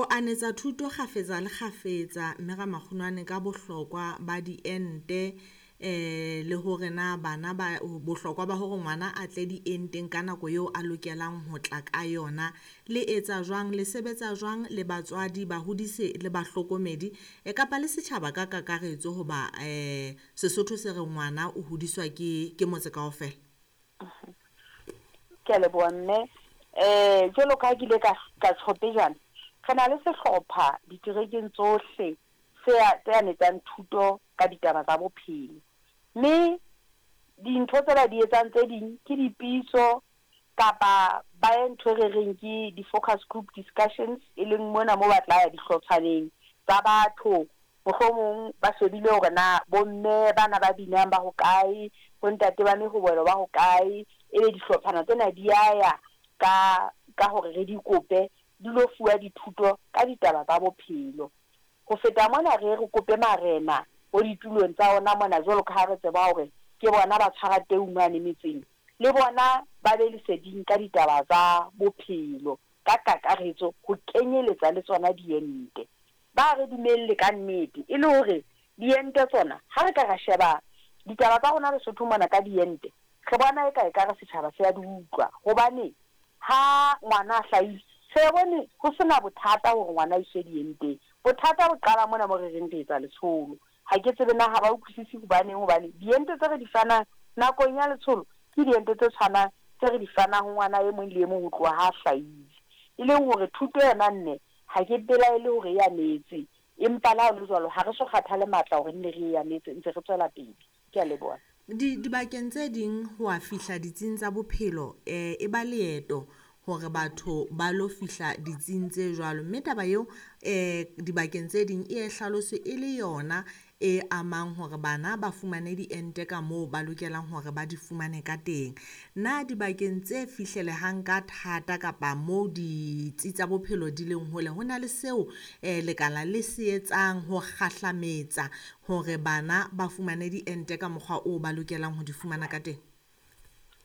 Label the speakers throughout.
Speaker 1: O anetsa thuto kgafetsa le kgafetsa, mme Ramakgunwane, ka bohlokwa ba diente, le hore na bana ba bohlokwa ba hore ngwana a tle dienteng ka nako eo a lokelang ho tla ka yona. Le etsa jwang, le sebetsa jwang le batswadi, bahodise le bahlokomedi, kapa le setjhaba ka kakaretso, hoba Sesotho se re ngwana o hodiswa ke motse kaofela?
Speaker 2: Ke a leboha, mme. Jwalo ka ha ke ile ka tjho pejana, re na le sehlopha diterekeng tsohle tse anetsang thuto ka ditaba tsa bophelo. Mme dintho tse ba di etsang tse ding ke dipitso, kapa ba ye ntho e re reng ke di-focus group discussions, e leng mona mo ba tla ya dihlotshwaneng tsa batho, mohlomong ba shebile hore na bomme bana ba binang ba hokae, bontate ba mehobelo ba hokae, ebe dihlophana tsena di ya ya ka hore re di kope di lo fuwa dithuto ka ditaba tsa bophelo. Ho feta mona, re re kope marena bo ditulong tsa ona mona, jwalo ka ha re tseba hore ke bona ba tshwara teu mane metseng, le bona ba be leseding ka ditaba tsa bophelo ka kakaretso, ho kenyeletsa le tsona diente. Ba re dumelle ka nnete, e le hore diente tsona, ha re ka ra sheba ditaba tsa rona Lesotho mona ka diente, re bona eka ekare setjhaba se a di utlwa. Hobane ha ngwana a hlahile, re bone ho sena bothata hore ngwana a iswe dienteng. Bothata bo qala mona mo re reng re etsa letsholo. Ha ke tsebe na ha ba utlwisise hobaneng, hobane diente tse re di fanang nakong ya letsholo ke diente tse tshwanang tse re di fanang ho ngwana e mong le e mong ho tloha ha a hlahile. E leng hore thuto yona, mme, ha ke belaele hore e anetse, empa le ha ho le jwalo, ha re so kgathale matla hore nne re e anetse, ntse re tswela pele. Ke a leboha.
Speaker 1: Dibakeng tse ding ho a fihla ditsing tsa bophelo, e ba leeto hore batho ba lo fihla ditsing tse jwalo, mme taba eo dibakeng tse ding e hlaloswe e le yona e amang hore bana ba fumane diente ka moo ba lokelang hore ba di fumane ka teng. Na dibakeng tse fihlelehang ka thata kapa moo ditsi tsa bophelo di leng hole, ho na le seo lekala le se etsang ho kgahlametsa hore bana ba fumane diente ka mokgwa oo ba lokelang ho di fumana ka teng?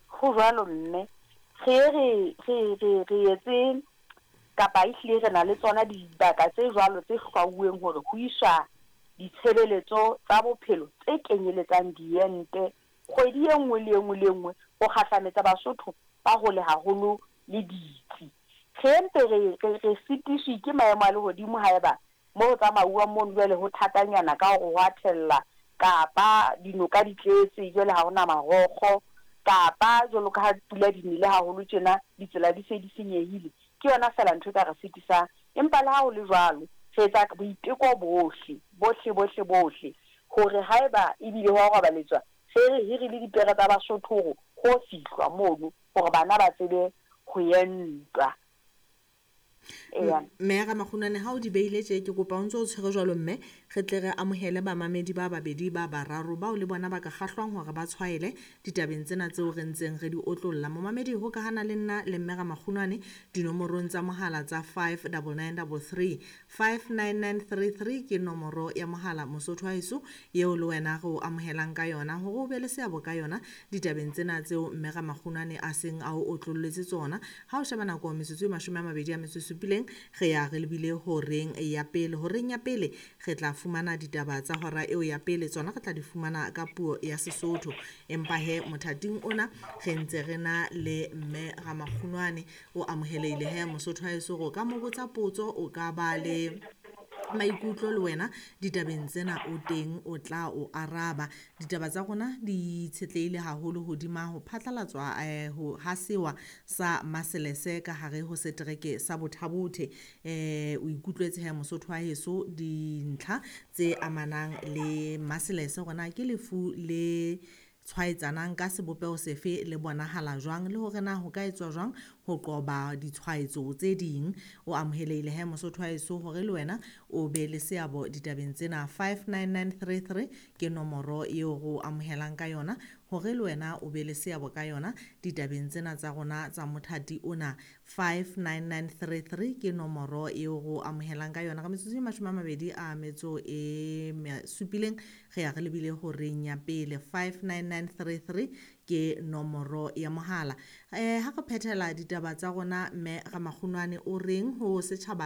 Speaker 2: Ho jwalo, mme. Re re etse kapa ehlile re na le tsona dibaka tse jwalo tse hlwauweng hore ho iswa ditshebeletso tsa bophelo tse kenyeletsang diente kgwedi e nngwe le e nngwe le e nngwe, ho kgahlametsa Basotho ba hole haholo le ditsi. Re mpe re sitiswe ke maemo a lehodimo haeba mo ho tsamauwang mono jwale ho thatanyana ka hore ho a thella, kapa dinoka di tletse jwale ha hona marokgo, kapa jwalo ka ha pula di nele haholo tjena, ditsela di se di senyehile. Ke yona feela ntho e ka re sitisang. Empa le ha ho le jwalo, re etsa boiteko bohle, bohle, bohle, bohle, hore haeba ebile ho a robaletswa, re re hirile dipere tsa Basotho hore ho fihlwa mono, hore bana ba tsebe ho entwa.
Speaker 1: Mme Ramakgunwane, ha o di beile tje, ke kopa o ntso o tshwere jwalo, mme re tle re amohele bamamedi ba babedi ba bararo bao le bona ba ka kgahlwang hore ba tshwaele ditabeng tsena tseo re ntseng re di otlolla. Momamedi, hokahana le nna le mme Ramakgunwane dinomorong tsa mohala tsa 59933. 59933 ke nomoro ya mohala, Mosotho wa heso, eo le wena re o amohelang ka yona hore o be le seabo ka yona ditabeng tsena tseo mme Ramakgunwane a seng a o otlolletse tsona. Ha o sheba nako, metsotso e 27, re ya re lebile horeng ya pele. Horeng ya pele re tla fumana ditaba tsa hora eo ya pele, tsona re tla di fumana ka puo ya Sesotho. Empa he mothating ona re ntse re na le mme Ramakgunwane. O amohelehile he, Mosotho wa heso, hore o ka mo botsa potso, o ka ba le maikutlo le wena ditabeng tsena, o teng o tla o araba. Ditaba tsa rona di itshetlehile haholo hodima ho phatlalatswa ho ha sewa sa Maselese ka hare ho setereke sa Botha-Bothe. O ikutlwetse he, Mosotho wa heso, dintlha tse amanang le Maselese, hore na ke lefu le tshwaetsanang ka sebopeho sefe, le bonahala jwang, le hore na ho ka etswa jwang ho qoba ditshwaetso tse ding. O amohelehile he, Mosotho wa heso, hore le wena o be le seabo ditabeng tsena. 59933 ke nomoro eo re o amohelang ka yona hore le wena o be le seabo ka yona ditabeng tsena tsa rona tsa mothati ona. 59933 ke nomoro eo re o amohelang ka yona. Ka metsotso e 27, re ya re lebile horeng ya pele. 59933 ke nomoro ya mohala. Ha re phethela ditaba tsa rona, mme Ramakgunwane, o reng ho setjhaba